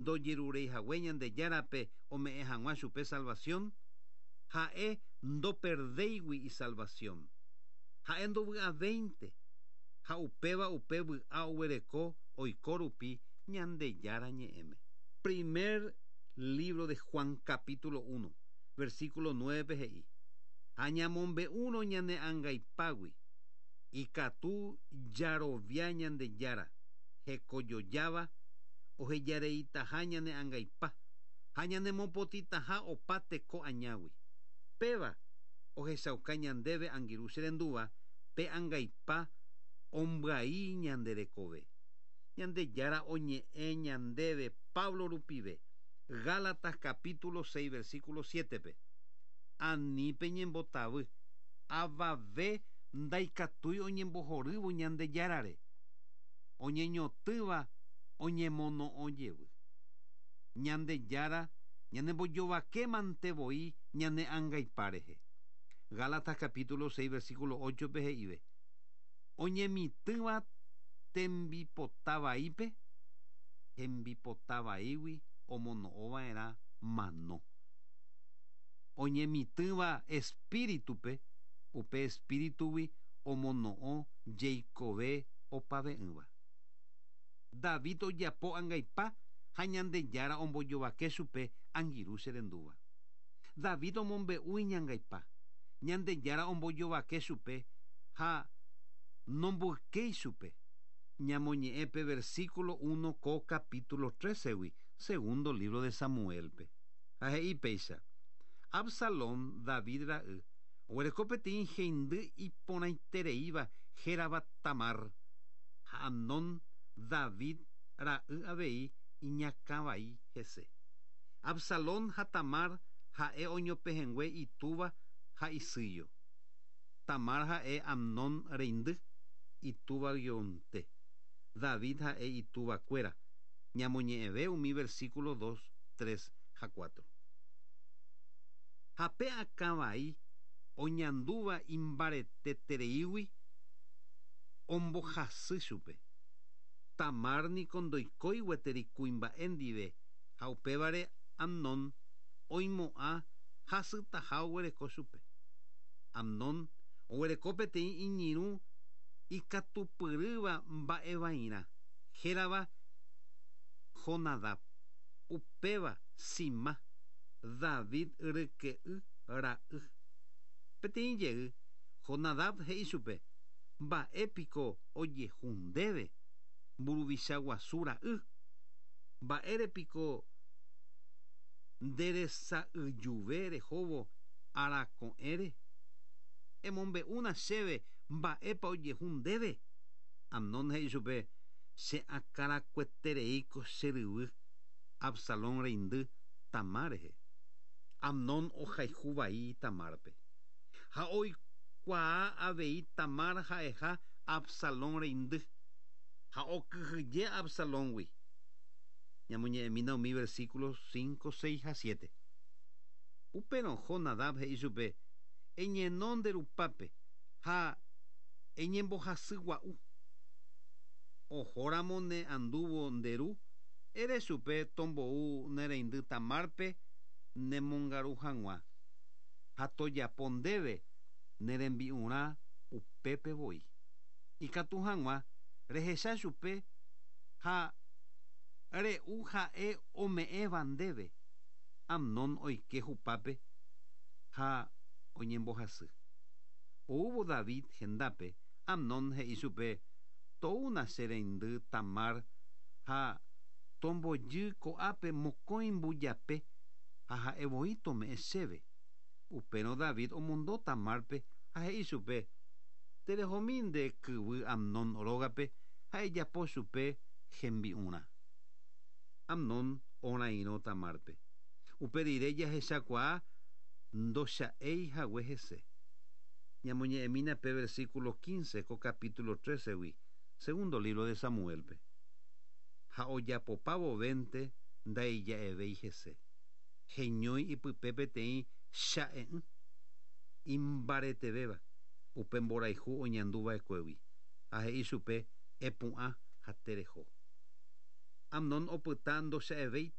Ndojerureihague Ñandejárape ome'ẽ hag̃ua chupe salvación? Ha'e ndoperdéigui isalvación. Ha'e ndovy'avéinte, ha upéva upe vy'a oguereko oiko rupi Ñandejára ñe'ẽme. Primer libro de Juan capítulo 1, versículo 9-pe he'i, Ha ñamombe'úrõ ñane angaipágui, ikatu jarovia Ñandejára, hekojojáva, ohejareitaha ñane angaipa, ha ñanemopotĩtaha opa teko añágui. Péva ohechauka ñandéve angirũ che rendúva pe angaipa ombyai ñande rekove. Ñandejára oñe'ẽ ñandéve Pablo rupive, Gálatas capítulo 6 versículo 7-pe, Ani peñembotavy, avave ndaikatúi oñembohorývo Ñandejárare, oñeñotỹva oñemono'õ jevy. Ñandejára ñanembojovake mante voi ñane angaipa rehe. Gálatas capítulo 6 versículo 8-pe he'ive, Oñemitỹva tembipota vaípe, hembipota vaígui omono'õ va'erã mano. Oñemitỹva espíritupe, upe espíritugui omono'õ jeikove opave'ỹva. David ojapo angaipa ha Ñandejára ombojovake chupe angirũ che rendúva. David omombe'u iñangaipa, Ñandejára ombojovake chupe ha nomboykéi chupe. Ñamoñe'ẽ pe versículo uno ko capítulo trece-gui, segundo libro de Samuel-pe. Ha he'i péicha, Absalón, David ra'y, oguereko peteĩ heindy iporãitereíva hérava Tamar, ha Amnón, David ra'y avei iñakãvai hese. Absalón ha Tamar ha'e oñopehẽngue itúva ha isýjo. Tamar ha'e Amnón reindy, itúva guionte. David ha'e itúva kuéra. Ñamoñe'ẽve umi versículo dos, tres ha cuatro. Ha pe akã vai oñandúva imbaretetereígui ombohasy chupe. Tamar niko ndoikói gueteri kuimba'e ndive ha upévare Amnón oimo'ã hasytaha oguereko chupe. Amnón oguereko peteĩ iñirũ ikatupyrýva mba'evairã, hérava Jonadab. Upéva Simá, David ryke'y ra'y. Peteĩ jey, Jonadab he'i chupe, Mba'e piko ojehu ndéve, mburuvicha guasu ra'y? Mba'ére piko nderesa'yjuve rehóvo arako'ẽre? Emombe'úna chéve mba'épa ojehu ndéve. Amnón he'i chupe, Che akãrakuetereíko che ryvy Absalón reindy Tamar rehe. Amnón ohayhu vai Tamárpe. Ha oikuaa avei Tamar ha'eha Absalón reindy, ha okyhyje Absalóngui. Ñamoñe'ẽmína umi versículo cinco, seis ha siete. Upérõ Jonadab he'i chupe, Eñeno nde rupápe ha eñembohasy gua'u. Ohóramo ne andúvo nde ru, ere chupe tombou ne reindy Tamárpe nemongaru hag̃ua. ha tojapo ndéve ne rembi'urã upépe voi. Ikatu hag̃ua rehecha chupe ha re'u ha'e ome'ẽva ndéve. Amnón oike hupápe ha oñembohasy. Oúvo David hendápe, Amnón he'i chupe, Toúna che reindy Tamar ha tombojy ko'ápe mokõi mbujape ha ha'e voi tome'ẽ chéve. Upérõ David omondo Tamárpe ha he'i chupe, Terehomi nde kyvy Amnón rógape ha ejapo chupe hembi'urã. Amnón orairõ Tamárpe. Upe rire jahechakuaa ndocha'éi hague hese. Ñamoñe'ẽmína pe versículo quince ko capítulo trécegui, segundo lívro de Samuélpe. Ha ojapopa vovénte ndaija'evéi hese. Heñói ipype peteĩ cha'e'ỹ imbaretevéva upe mborayhu oñandu va'ekuégui, ha he'i chupe, Epu'ã ha tereho. Amnón opyta ndocha'evéi.